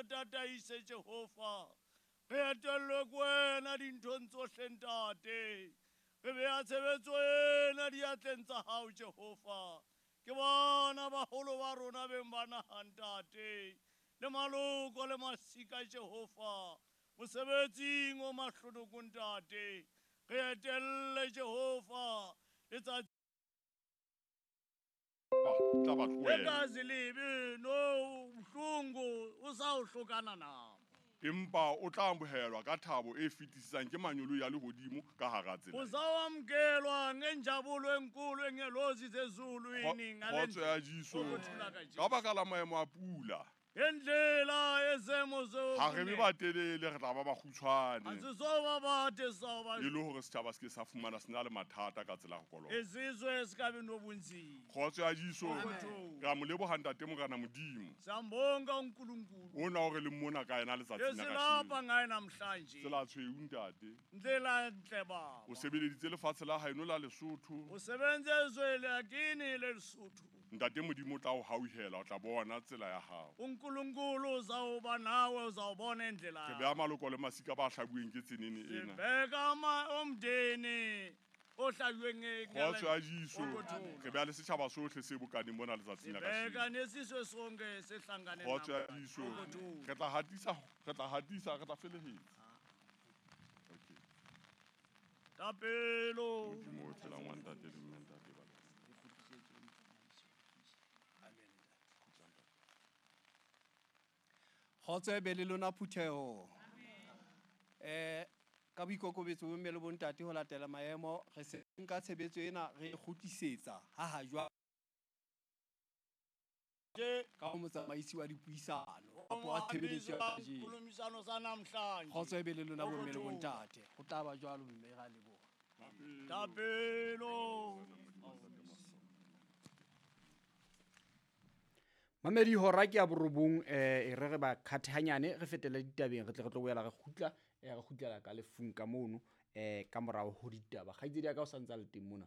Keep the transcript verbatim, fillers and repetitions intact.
Re tataise Jehova. Re etellwe ke wena dinthong tsohle ntate. Re beha tshebetso ena diatleng tsa hao Jehova. Ke bona baholo ba rona beng ba naha ntate. Le maloko le masika Jehova. Mosebetsing o mahlonoko ntate. Re etelle Jehova. Letsatsi tla ba tlohela. Legazi libi no buhlungu usawuhlukana nabo. Empa o tla amohelwa ka thabo e fetisisang ke manyolo ya lehodimo ka hara tsela. Uzawamkelwa ngenjabulo enkulu engelozi zezulwini ngale Kgotso ya Jesu. Ukuthula kaJesu. Ka baka la maemo a pula. Ngendlela yezemo zo. Ha re be batelele re tla ba bakgutshwane. Asizoba bade soba. E le hore setjhaba se ke sa fumana se na le mathata ka tsela ya ho kolota. Izizwe sikabi nobunzima. Kgotso ya Jesu. Amen. Re a mo leboha ntate Morena Modimo. Siyambonga uNkulunkulu. Ona o re le mona ka yena letsatsing la Esilapha kajeno. ngaye namhlanje. Tsela tshweu ntate. Ndlela enhle baba. O sebeleditse lefatshe la haeno la Lesotho. O sebenze ezwe lakini leSotho. Ntate Modimo o tla o hauhela, o tla bona tsela ya hao. uNkulunkulu uzawuba nawe, uzawubona indlela. Re beha maloko le masika ba hlabuweng ke tsenene ena. Sibheka ama omndeni ohlabuweng nge- Kgotso ya Jesu. Ukuthula. Re beha le setjhaba sohle se bokaneng mona letsatsing la Sibheka kajeno. nesizwe sonke sehlangane Kgotso ya namhlanje. Jesu. Ukuthula. Re tla hatisa, re tla hatisa, re tla felehetsa. Okay. Thapelo. Modimo o phelang wa ntate le mme ntate ba. Kgotso e be le lona phutheho. Eh, ka boikokobetso bo mme le bontate ho latela maemo, re se nka tshebetso ena re e kgutlisetsa ha ha jwale. Ka ho motsamaisi wa dipuisano, kapa wa tshebeletso ya kajeno. Khulumisano sa namhlanje. Kgotso e be le lona bomme le bontate. Ho tla ba jwalo mme ra leboha. Thapelo. Mamedi hora ke ya borobong, eh, e re re ba khathanyane re fetele ditabeng re tle re tlo boela re kgutla, eh, re kgutlela ka lefung ka mono, eh, ka morao ho ditaba. Kgaitsedi ya ka o sa ntse a le teng mona.